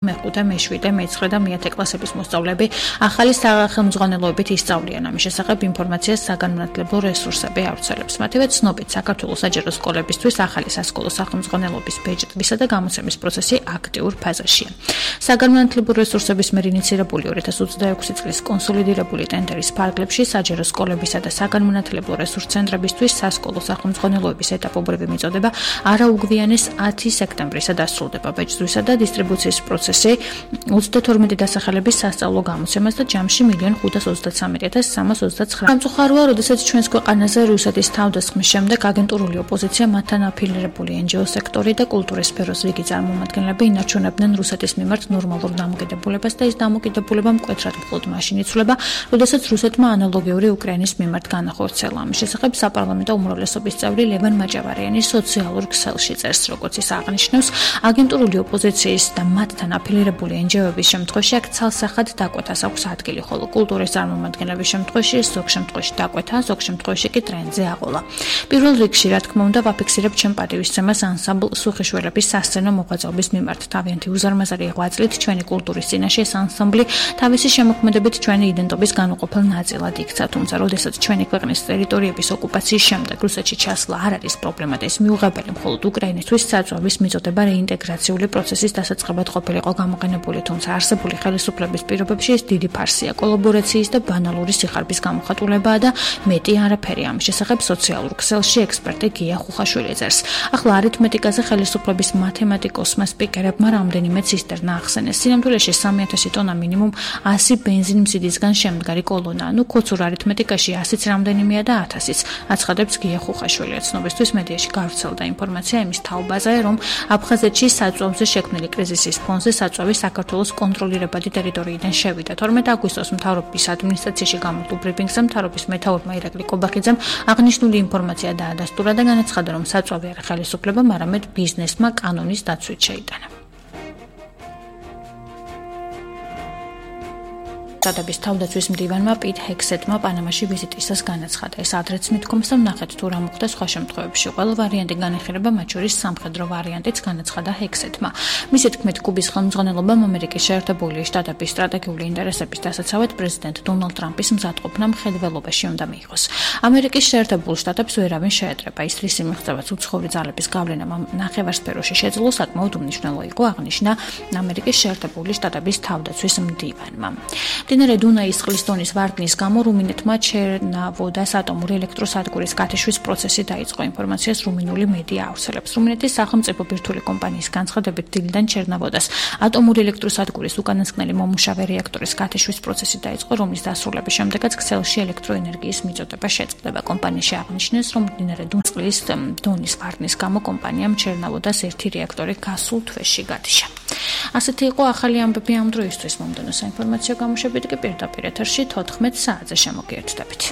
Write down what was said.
მეხუთე, მეშვიდე, მეცხრე და მეათე კლასების მოსწავლეები ახალი სახელმძღვანელოებით ისწავლიან. ამის შესახებ ინფორმაციას საგანმანათლებლო რესურსები ავრცელებს. მათივე ცნობით, საქართველოს საჯარო სკოლებისთვის ახალი სასკოლო სახელმძღვანელობის ბეჭდვისა და გამოცემის პროცესი აქტიურ ფაზაშია. საგანმანათლებლო რესურსების მიერ ინიცირებული 2026 წლის კონსოლიდირებული ტენდერის ფარგლებში საჯარო სკოლებისა და საგანმანათლებლო რესურს ცენტრებისთვის სასკოლო სახელმძღვანელოების ეტაპობრივი მიწოდება არაუგვიანეს 10 სექტემბრისა დასრულდება. ბეჭდვისა და დისტრიბუციის პროცესი 32 დასახელების სასწავლო გამოცემას და ჯამში 1,523,329. სამწუხაროა, როდესაც ჩვენს ქვეყანაზე რუსეთის თავდასხმის შემდეგ აგენტურული ოპოზიცია, მათთან აფილირებული NGO სექტორი და კულტურის სფეროს რიგი წარმომადგენლები ინარჩუნებდნენ რუსეთის მიმართ ნორმალურ დამოკიდებულებას და ეს დამოკიდებულება მკვეთრად მხოლოდ მაშინ იცვლება, როდესაც რუსეთმა ანალოგიური უკრაინის მიმართ განახორციელა. ამის შესახებ საპარლამენტო უმრავლესობის წევრი ლევან მაჭავარიანი სოციალურ ქსელში წერს, როგორც ის აღნიშნავს, აგენტურული ოპოზიციის და მათთან აფილირებული NGO-ების შემთხვევაში აქ ცალსახად დაკვეთას აქვს ადგილი, ხოლო კულტურის წარმომადგენლების შემთხვევაში ზოგ შემთხვევაში დაკვეთა, ზოგ შემთხვევაში კი ტრენდზე აყოლა. პირველ რიგში, რა თქმა უნდა, ვაფიქსირებ ჩემ პატივისცემას ანსამბლ სუხიშველების სასცენო მოღვაწეობის მიმართ. თავიანთი უზარმაზარი ღვაწლით ჩვენი კულტურის წინაშე ეს ანსამბლი თავისი შემოქმედებით ჩვენი იდენტობის განუყოფელ ნაწილად იქცა, თუმცა როდესაც ჩვენი ქვეყნის ტერიტორიების ოკუპაციის შემდეგ რუსეთში ჩასვლა არ არის პრობლემა და ეს მიუღებელი მხოლოდ უკრაინისთვის საწვავის მიწოდება რეინტეგრაციული პროცესის დასაწყებად ყოფილიყო გამოყენებული, თუმცა არსებული ხელისუფლების პირობებში ეს დიდი ფარსია, კოლაბორაციის და ბანალური სიხარბის გამოხატულებაა და მეტი არაფერი. ამის შესახებ სოციალურ ქსელში ექსპერტი გია ხუხაშვილი წერს. ახლა არითმეტიკაზე ხელისუფლების მათემატიკოსმა სპიკერებმა რამდენიმე ცისტერნა ახსენეს. სინამდვილეში 3,000 ტონა მინიმუმ 100 ბენზინმზიდისგან შემდგარი კოლონა. ქოცურ არითმეტიკაში 100-იც რამდენიმეა და 1000-იც, აცხადებს გია ხუხაშვილი. ცნობისთვის მედიაში გავრცელდა ინფორმაცია იმის თაობაზე, რომ აფხაზეთში საწვავზე შექმნილი კრიზისის ფონზე საწვავი საქართველოს კონტროლირებადი ტერიტორიიდან შევიდა. 12 აგვისტოს მთავრობის ადმინისტრაციაში გამართულ ბრიფინგზე მთავრობის მეთაურმა ირაკლი კობახიძემ აღნიშნული ინფორმაცია დაადასტურა და განაცხადა, რომ საწვავი არ ხელისუფლებამ, არამედ ბიზნესმა კანონის დაცვით შეიტანა. შტატების თავდაცვის მდივანმა პიტ ჰექსეტმა პანამაში ვიზიტისას განაცხადა. ეს ადრეც მithkoms და ნახეთ თუ რა მოხდა სხვა შემთხვევებში. ყველა ვარიანტი განეხილება, მათ შორის სამხედრო ვარიანტიც, განაცხადა ჰექსეტმა. მისი თქმით, კუბის ხელმძღვანელობამ ამერიკის შეერთებული შტატების სტრატეგიული ინტერესების დასაცავად პრეზიდენტ დონალდ ტრამპის მზადყოფნა მხედველობაში უნდა მიიღოს. ამერიკის შეერთებულ შტატებს ვერავინ შეეტრება. ის რისი მიღწევაც უცხოური ძალების გავლენა ნახევარსფეროში შეძლო, საკმაოდ უმნიშვნელო იყო, აღნიშნა ამერიკის შეერთებული შტატების თავდაცვის მდივანმა. მდინარე დუნაის წყლის დონის ვარდნის გამო რუმინეთმა ჩერნავოდას ატომური ელექტროსადგურის გათიშვის პროცესი დაიწყო. ინფორმაციას რუმინული მედია ავრცელებს. რუმინეთის სახელმწიფო ბირთვული კომპანიის განცხადებით, დილიდან ჩერნავოდას ატომური ელექტროსადგურის უკანასკნელი მომუშავე რეაქტორის გათიშვის პროცესი დაიწყო, რომლის დასრულების შემდეგაც ქსელში ელექტროენერგიის მიწოდება შეწყდება. კომპანიაში აღნიშნეს, რომ მდინარე წყლის დონის ვარდნის გამო კომპანიამ ჩერნავოდას ერთი რეაქტორი გასულ თვეში გათიშა. ასეთი იყო ახალი ამბები ამ დროისთვის. მომდევნო საინფორმაციო გამოშვებით კი პირდაპირ ეთერში 14 საათზე შემოგიერთდებით.